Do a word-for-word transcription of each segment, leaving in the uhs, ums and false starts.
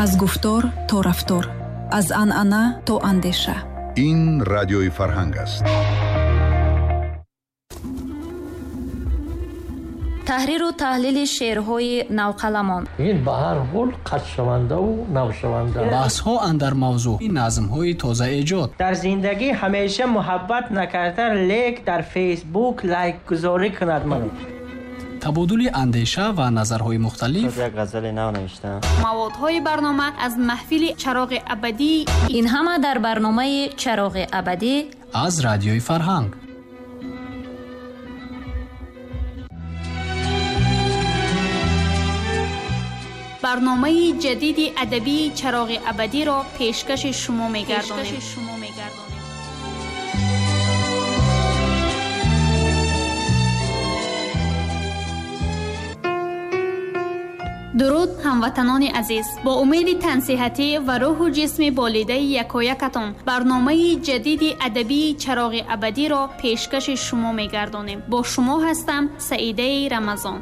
Аз гуфтор то рафтор, аз анъана то андеша. Ин радиои Фарҳанг аст. Таҳриру таҳлили шеърҳои навқаламон. Ин ба ҳар ҳол қатшавандаву навшаванда. Баҳсҳо андар мавзӯъ, назмҳои тозаэҷод. Дар зиндагӣ ҳамеша муҳаббат накарда, лек дар Фейсбук лайкгузорӣ кунад маро. Табодули андеша ва назарҳои мухталиф. Як ғазали нав навиштам. Маводҳои барнома аз маҳфили Чароғи абадӣ. Ин ҳама дар барномаи Чароғи абадӣ аз радиои Фарҳанг. Барномаи ҷадиди адабии Чароғи абадиро пешкаши шумо мегардонем. Дуруд, ҳамватанони азиз! Бо умеди тансиҳатӣ ва рӯҳу ҷисми болидаи якоякатон барномаи ҷадиди адабии Чароғи абадиро пешкаши шумо мегардонем. Бо шумо ҳастам Саидаи Рамазон.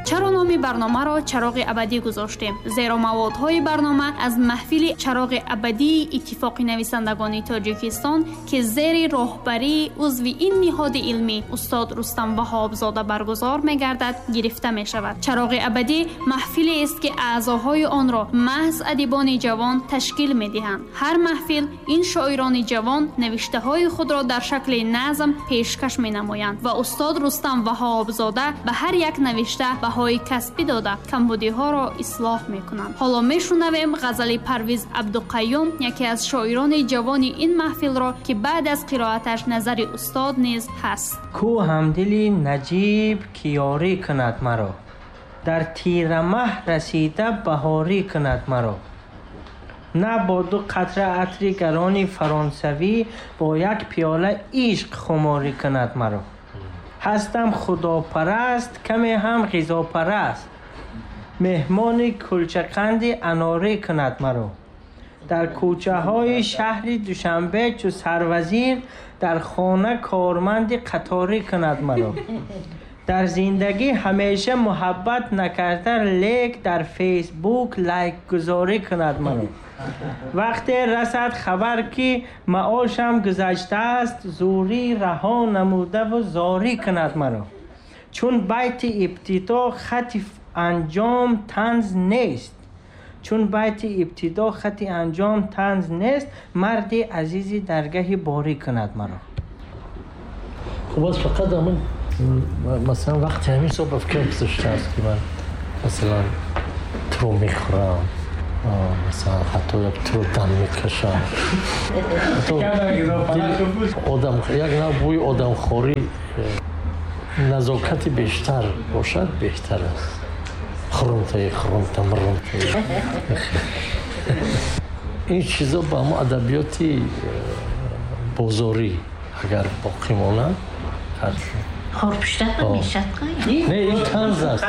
Чаро номи барномаро Чароғи абадӣ гузоштем? Зеро маводҳои барнома аз маҳфили Чароғи абадии Иттифоқи нависандагони Тоҷикистон, ки зери роҳбарии узви ин ниҳоди илмӣ устод Рустам Ваҳобзода баргузор мегардад, гирифта мешавад. Чароғи абадӣ маҳфилест, ки аъзоҳои онро маҳз адибони ҷавон ташкил медиҳанд. Ҳар маҳфил ин шоирони ҷавон навиштаҳои худро дар шакли назм пешкаш менамоянд ва устод Рустам Ваҳобзода ба ҳар як навишта баҳои касбӣ дода, камбудиҳоро ислоҳ мекунанд. Ҳоло мешунавем ғазали Парвиз Абдуқаюм, яке аз шоирони ҷавони ин маҳфилро, ки баъд аз қироаташ назари устод низ ҳаст. Ку ҳамдили наҷиб ки ёрӣ кунад маро, дар тирамаҳ расида баҳорӣ кунад маро. На бо ду қатра атри гарони фаронсавӣ, бо як пиёла ишқ хуморӣ кунад маро. Ҳастам худопараст, каме ҳам ғизопараст, меҳмони кулчақанди анорӣ кунад маро. Дар кӯчаҳои шаҳри Душанбе чу сарвазир, дар хона корманди қаторӣ кунад маро. Дар зиндагӣ ҳамеша муҳаббат накарда, лек дар Фейсбук лайкгузорӣ кунад маро. Вақте расад хабар, ки маошам гузаштааст, зӯрӣ раҳо намудаву зорӣ кунад маро. Чун байти ибтидо хати анҷом танз нест, чун байти ибтидо хати анҷом танз нест, марди азизи даргаҳи борӣ кунад маро. Хуб аст, фақат ҳамин масалан вақти ҳамин соҳ ба фикрам гузаштааст, ки ман масалан туро мехӯрам, масалан ҳатто як туро дам мекашам. Одам як нав бӯи одамхорӣ, назокати бештар бошад беҳтар аст. Хурумтаи хурумта мурумтаи. Ин чизо ба ҳамон адабиёти бозорӣ агар боқӣ монад, хорпуштак мешад. Не, ин танз аст,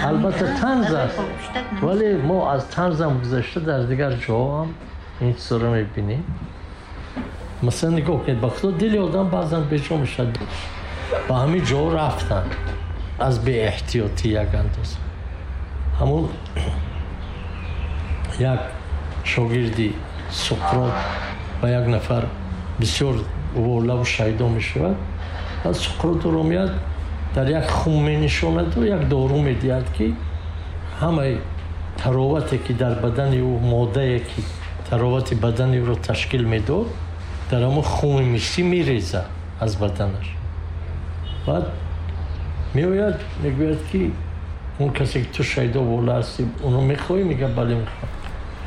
албатта танз аст, вале мо аз танзам гузашта дар дигар ҷоҳо ҳам ин чизоро мебинем. Масалан нигоҳ кунед, ба худо дили одам баъзан беҷо мешавад. Ба ҳамин ҷо рафтан аз беэҳтиётӣ як андоза. Ҳамун як шогирди Суқрот ба як нафар бисёр волаву шайдо мешавад. Баъд Суқрот ӯро меяд дар як хум менишонаду як дору медиҳад, ки ҳамаи таровате ки дар бадани ӯ, моддае ки таровати бадани ӯро ташкил медод, дар ҳамон хуми мисӣ мерезад аз баданаш. Баъд меояд мегӯяд, ки он касе ки ту шайдо вола ҳастӣ, онро мехоҳӣ? Мегӯяд бале мехоҳам.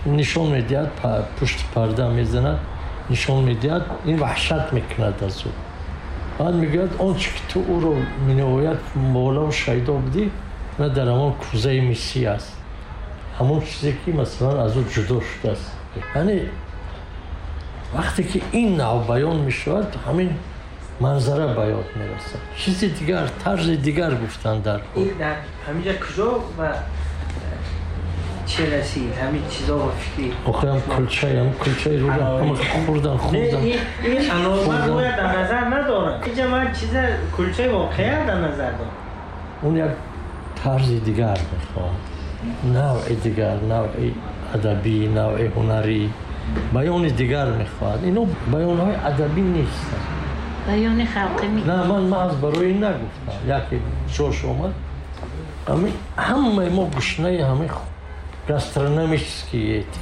Нишон медиҳад, пушти парда мезанад, нишон медиҳад, ин ваҳшат мекунад аз ӯ. Баъд мегӯяд он чи ки ту ӯро минояд молаву шайдо будӣ, на дар ҳамон кӯзаи мисӣ аст, ҳамон чизе ки масалан аз ӯ ҷудо шудааст. Яъне вақте ки ин нав баён мешавад, ҳамин манзара ба ёд мерасад. Чизи дигар, тарзи дигар гуфтан дар кор. Дар ҳаминҷа куҷо ва чӣ расид? Ҳамин чизо ва фикри охирам кулчаи, ҳам кулчаи рӯ ҳама хӯрдан, хӯрдан. Ин анормал бояд дар назар надорад. Инҷа ман чиза кулчаи воқеа дар назар дорам. Он як тарзи дигар мехоҳад. навъи дигар, навъи адабӣ, навъи ҳунарӣ, баёни дигар мехоҳад. Ино баёнҳои адабӣ нестанд. Баёни халқӣ ми. На, ман маҳз барои ин нагуфтам. Яке ҷош омад. Ҳамаи мо гушнаи ҳамаи гастрономические эти.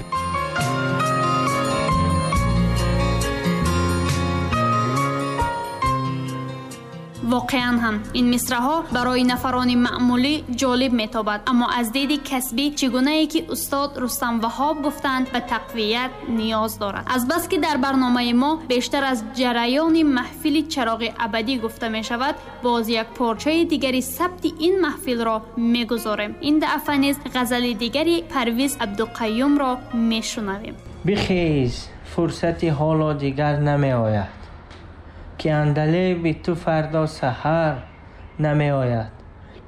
Воқеан ҳам ин мисраҳо барои нафарони маъмулӣ ҷолиб метобад, аммо аз диди касбӣ чӣ гунае ки устод Рустам Ваҳоб гуфтанд ба тақвият ниёз дорад. Азбаски дар барномаи мо бештар аз ҷараёни маҳфили чароғи абадӣ гуфта мешавад, боз як порчаи дигари сабти ин маҳфилро мегузорем. Ин дафъа низ ғазали дигари Парвиз Абдуқаюмро мешунавем. Бихез, фурсати ҳоло дигар намеояд, ки андалеби ту фардо саҳар намеояд.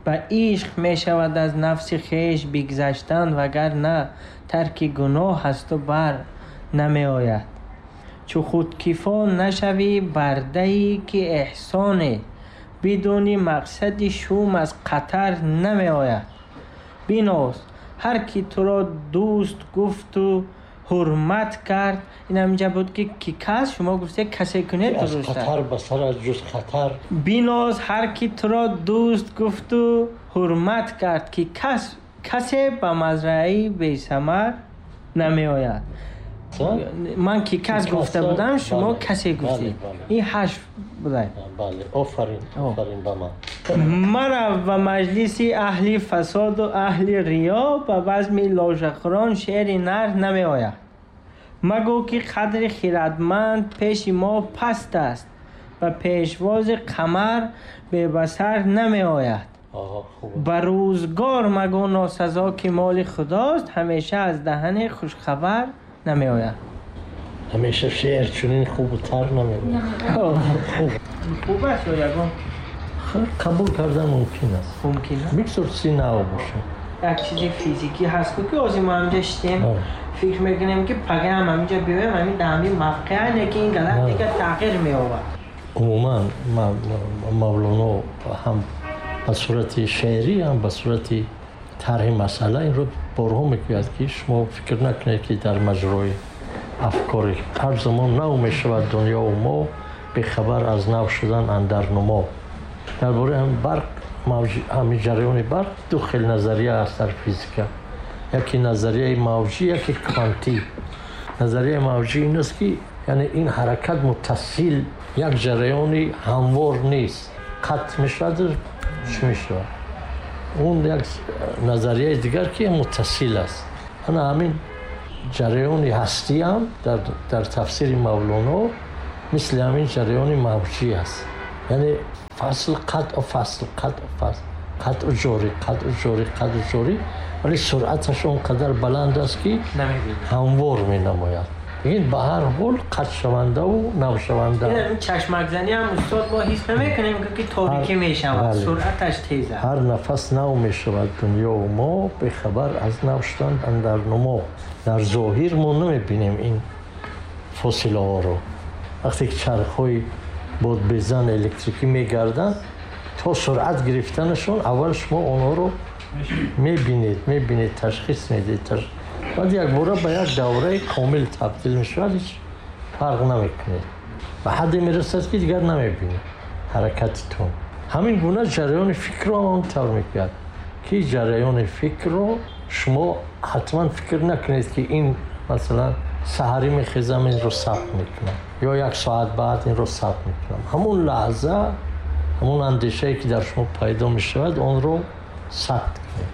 Ба ишқ мешавад аз нафси хеш бигзаштан, вагарна тарки гуноҳ аз ту бар намеояд. Чу худкифо нашавӣ бардае ки эҳсоне, бидуни мақсади шум аз қатар намеояд. Биноз, ҳар ки туро дӯст гуфту ҳурмат кард. Ин ҳаминҷа буд ки ки кас, шумо гуфте касе кунед дуруст аст. Аз хатар ба сар аз ҷуз хатар. Биноз, ҳар ки туро дӯст гуфту ҳурмат кард, ки кас касе ба мазраи бесамар намеояд. Ман ки кас гуфта будам, шумо касе гуфтед. Ин ҳашт буда. Бале, офарин, офарин ба ман. Марав ба маҷлиси аҳли фасоду аҳли риё, ба базми ложахӯрон шеъри нар намеояд. Магӯ ки қадри хирадманд пеши мо паст аст, ба пешвози қамар бебасар намеояд. Ба рӯзгор магӯ носазо ки моли худост, ҳамеша аз даҳани хушхабар намеояд. Ҳамеша шеър чунин хубу тар намеояд. Хуб аст ё ягон? Қабул кардан мумкин аст. Мумкин аст? Бигзор чизи нав бошад. Як чизи физикӣ ҳаст, ки ҳозир мо ҳаминҷа шитем, фикр мекунем ки пага ҳам ҳаминҷа биёем, ҳамин дар ҳамин мавқеа, лекин ин галактика тағйир меёбад. Умуман Мавлоно ҳам ба сурати шеърӣ, ҳам ба сурати тарҳи масъала инро борҳо мегӯяд, ки шумо фикр накунед, ки дар маҷрои афкори ҳар замон нав мешавад дунёу мо, бехабар аз нав шудан андар нумо. Дар бораи ҳам барқ, ҳамин ҷараёни барқ ду хел назария аст дар физика. Яке назарияи мавҷӣ, яке квантӣ. Назарияи мавҷӣ ин аст, ки яъне ин ҳаракат муттасил як ҷараёни ҳамвор нест, қатъ мешавад, чӣ мешавад. Он як назарияи дигар ки муттасил аст. Ана ҳамин ҷараёни ҳастӣ ҳам дар, дар тафсири Мавлоно мисли ҳамин ҷараёни мавҷӣ аст. Яъне фасл қатъу фасл, қатъу фасл, қатъу ҷорӣ, қатъу ҷорӣ, қатъу ҷорӣ, вале суръаташ он қадар баланд аст, ки ҳамвор менамояд. Ин ба ҳар ҳол қатъшавандаву навшаванда. Чашмакзанӣ ҳам устод мо ҳис намекунем, ки торикӣ мешавад, суръаташ тез аст. Ҳар нафас нав мешавад дунёу мо, бехабар аз нав шудан андар нумо. Дар зоҳир мо намебинем ин фосилаҳоро. Вақте ки чархҳои бодбезан электрикӣ мегарданд, то суръат гирифтанашон аввал шумо онҳоро мебинед, мебинед, ташхис медиҳед. Баъд якбора ба як давраи комил табдил мешавад, ҳеҷ фарқ намекунед. Ба ҳадде мерасад, ки дигар намебинед ҳаракатитон. Ҳамин гуна ҷараёни фикрро он тавр мекунад, ки ҷараёни фикрро шумо ҳатман фикр накунед, ки ин масалан саҳарӣ мехезам инро сабт мекунам ё як соат баъд инро сабт мекунам. Ҳамон лаҳза, ҳамон андешае ки дар шумо пайдо мешавад, онро сабт кунед.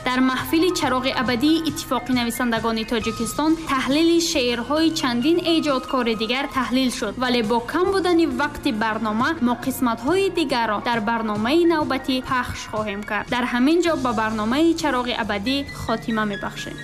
Дар маҳфили чароғи абадии иттифоқи нависандагони Тоҷикистон таҳлили шеърҳои чандин эҷодкори дигар таҳлил шуд, вале бо кам будани вақти барнома мо қисматҳои дигарро дар барномаи навбатӣ пахш хоҳем кард. Дар ҳамин ҷо ба барномаи чароғи абадӣ хотима мебахшем.